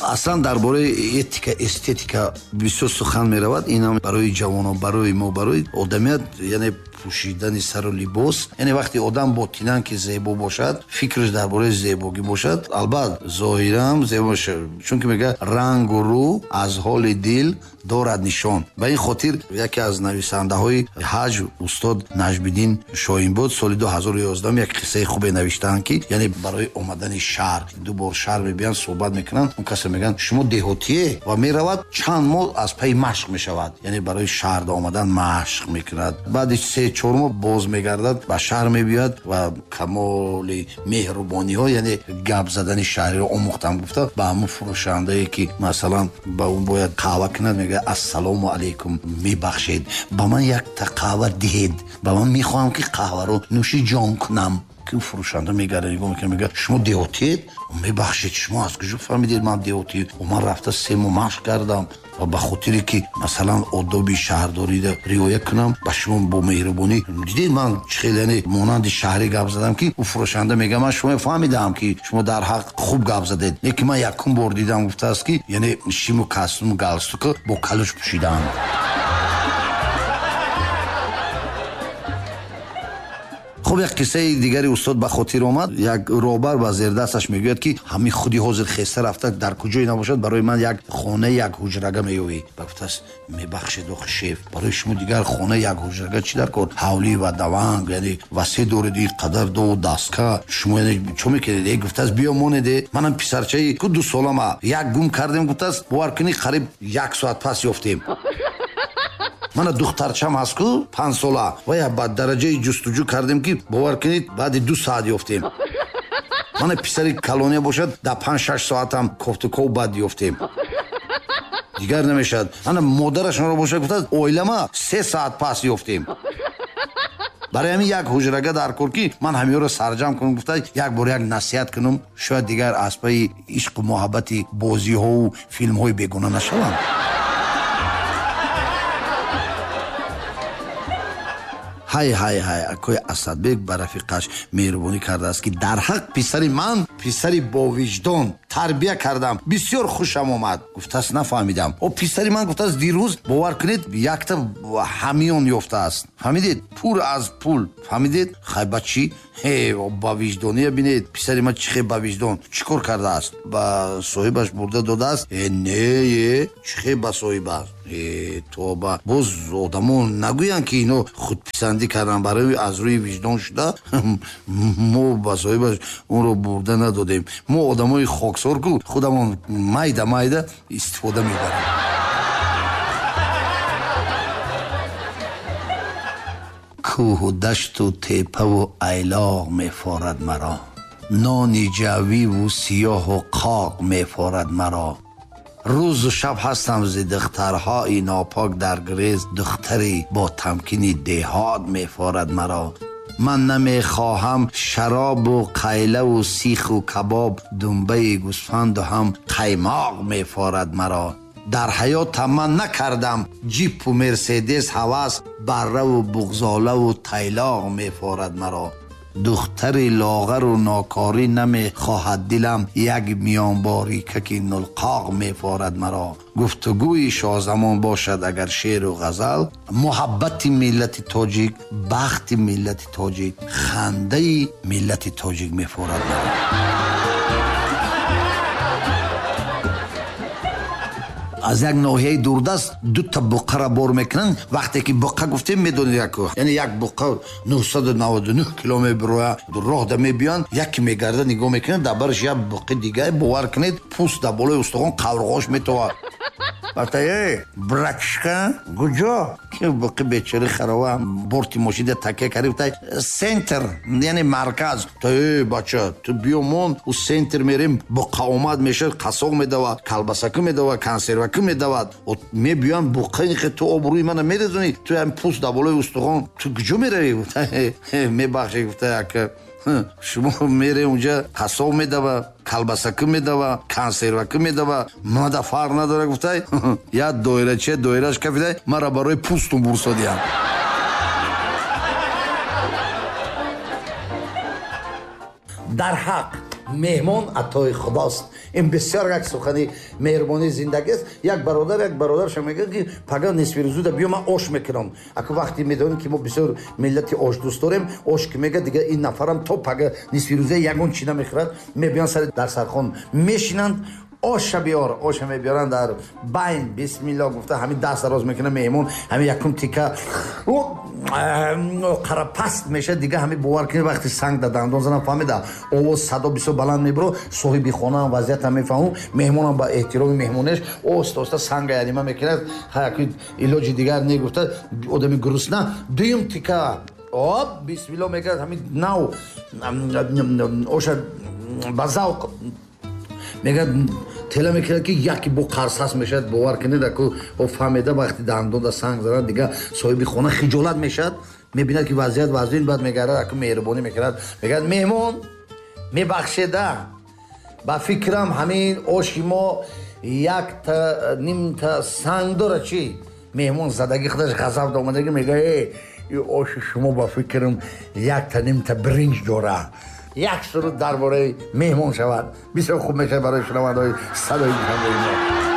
Аслан дар бораи этика, эстетика бисёр сухан меравад. Ин ҳам барои ҷавонон, барои мо, барои одамият, яъне пӯшидани сару либос. Яъне вақте одам ботинан ки зебо бошад, фикраш дар бораи зебогӣ бошад, албатта зоҳиран зебо мешавад. Чунки мегӯяд рангу рӯ аз ҳоли дил дорад нишон. Ба ин хотир яке аз нависандаҳои ҳаҷ устод Наҷмиддин Шоҳинбод соли 2011 як қиссаи хубе навиштаанд, ки яъне барои омадани шаҳр ду бор шаҳр мебиёнд, суҳбат мекунанд. Он касе мегӯянд шумо деҳотие, ва меравад чанд моҳ аз пайи машқ мешавад, яъне барои шаҳр омадан машқ мекунад. Баъди 3-4 моҳ боз мегардад, ба шаҳр мебиёяд ва камоли меҳрубониҳо, яъне гап задани шаҳриро омӯхтам гуфта, ба ҳамон фурӯшандае ки масалан ба он бояд қаҳва кунад, мегӯяд ассалому алайкум, мебахшед, ба ман якта қаҳва диҳед, ба ман мехоҳам ки қаҳваро нӯши ҷон кунам. Ки фурӯшанда мегардад, нигоҳ мекунад, мегӯяд шумо деҳотиед? Мебахшед, шумо аз куҷо фаҳмидед ман деҳотӣ? Ман рафта 3 моҳ машқ кардам ва ба хотире ки масалан одоби шаҳрдориро риоя кунам, ба шумо бо меҳрубонӣ дидед ман чӣ хеле, яъне монанди шаҳрӣ гап задам, ки ӯ фурӯшанда мегӯяд ман шумо фаҳмидаам ки шумо дар ҳақ хуб гап задед, лекин ман якум бор дидам, гуфтааст ки яъне шиму костюму галстука бо калуш пӯшидаанд. Хуб, як қиссаи дигари устод ба хотир омад. Як роҳбар ба зердасташ мегӯяд ки ҳамин худи ҳозир хеста рафта дар куҷое набошад, барои ман як хонаи як ҳуҷрага меёвӣ. Ба гуфтааст мебахшед охи шеф, барои шумо дигар хонаи як ҳуҷрага чӣ дар кор? Ҳавлӣ ва даванг, яъне васеъ доред, ин қадар дову дастка, шумо яъне чо мекунед? Э, гуфтааст биё монеде, манам писарчаи ку 2 солама, як гум кардем, гуфтааст бовар кунӣ қариб 1 соат пас ёфтем. Мана духтарчам ҳаст ку 5 сола, ва я ба дараҷаи ҷустуҷӯ кардем ки бовар кунед баъди 2 соат ёфтем. Мана писари калония бошад, дар 5-6 соатам кофтуков баъд ёфтем. Дигар намешавад. Ана модарашонро бошад, гуфтааст оилама 3 соат пас ёфтем. Барои ҳамин як ҳуҷрага дар кор ки ман ҳамиёро сарҷам кунам, гуфта як бор як насиҳат кунам, шояд дигар аз пайи ишқу муҳаббати бозиҳову филмҳои бегуна нашавам. Ҳай ҳай ҳай, акои Асадбек ба рафиқаш меҳрубонӣ кардааст ки дар ҳақ писари ман писари бовиҷдон тарбия кардам, бисёр хушам омад. Гуфтааст нафаҳмидам. О, писари ман гуфтааст дирӯз бовар кунед якта ҳамиён ёфтааст. Фаҳмидед? Пур аз пул. Фаҳмидед? Хай ба чӣ? Ҳе, ба виҷдония бинед, писари ман чӣ хел ба виҷдон чӣ кор кардааст? Ба соҳибаш бурда додааст? Э, не, э, чӣ хел ба соҳибаш? Э, тоба. Боз одамон нагӯянд ки ино худписандӣ карданд, барои аз рӯи виҷдон шуда мо ба соҳибаш онро бурда надодем. Мо одамои хоксор ку худамон майда майда истифода мебарем. Кӯҳу дашту тепаву айлоғ мефорад маро, нони ҷавиву сиёҳу қоқ мефорад маро. Рӯзу шаб ҳастам зи духтарҳои нопок дар грез, духтаре бо тамкини деҳот мефорад маро. Ман намехоҳам шаробу қайлаву сиху кабоб, думбаи гӯсфанду ҳам қаймоқ мефорад маро. Дар ҳаётам ман накардам ҷипу мерседес ҳавас, барраву буғзолаву тайлоқ мефорад маро. Духтари лоғару нокорӣ намехоҳад дилам, як миёнборикаки нулқоқ мефорад маро. Гуфтугӯи шоҳзамон бошад агар шеъру ғазал, муҳаббати миллати тоҷик, бахти миллати тоҷик, хандаи миллати тоҷик мефорад маро. Аз як ноҳияи дурдаст дута буққаро бор мекунанд. Вақте ки буққа гуфтем, медонед як, яъне як буққа 999 километр роя роҳда мебиёнд, яке мегарда нигоҳ мекунад, дар бараш як буққи дигар, бовар кунед, пӯст дар болои устухон қаврғош метовад. Вақте эй братишка, куҷо? Ки буққи бечора харова борти мошида такя кард, гуфта центр, яъне марказ. Та эй бача, ту биё мон, у центр мерем, буққа омад мешавад, қассоқ медавад, калбасакӣ медавад, консервакӣ медавад. Мебиёнд буққа, ин ту обрӯи мана мерезонӣ, ту ҳам пӯст дар болои устухон, ту куҷо меравӣ? Гуфта мебахшед, гуфта як шумо мере унҷа қассоб медава, калбасакӣ медава, консервакӣ медава, мада фарқ надора, гуфта як доирача доираш кафида мара барои пӯстум бурсодиям. Дар ҳақ Меҳмон атои худост. Ин бисёр як сухани меҳрубонии зиндагист. Як бародар як бародарша мегӯяд, ки пага нисфирӯзуда биё, ман ош мекунам. Аку вақте медонем, ки мо бисёр миллати ошдӯст дорем, ош ки мегӯяд, дигар ин нафарам то пага нисфирӯза ягон чи намехӯрад. Мебиён, сари дарсархон мешинанд. Оша биёр, оша мебиёранд. Дар байн бисмилло гуфта, ҳамин даст дароз мекунад меҳмон, ҳамин якум тика қарапаст мешавад. Дига ҳамин, бовар кунед, вақти санг дар дандон занам, фаҳмида, овоз, садо бисёр баланд мебиро. Соҳиби хонаам вазъиятам мефаҳмум, меҳмонам ба эҳтироми меҳмонеш оста оста санга ярима мекунад. Илоҷи дигар не, гуфта, одами грустна дуюм тика оп, бисмилло мекунад, ҳамин нав оша ба завқ мегӯяд, тела мекунад, ки яке бо қарсас мешавад. Бовар кунед, аку фаҳмеда, вақти дандонда санг занад, дига соҳиби хона хиҷолат мешавад, мебинад, ки вазъият вазъин. Баъд мегардад, аку меҳрубонӣ мекунад, мегӯяд: «Меҳмон, мебахшеда, ба фикрам, ҳамин оши мо якта нимта санг дорад, чӣ?» Меҳмон задагӣ худаш ғазаб омадагӣ мегӯяд: «Э, ин оши шумо, ба фикрам, якта нимта биринҷ дорад». Як суруд дар бораи меҳмон шавад, бисёр хуб мешавад барои шунавандаҳои Садои Душанбеи мо.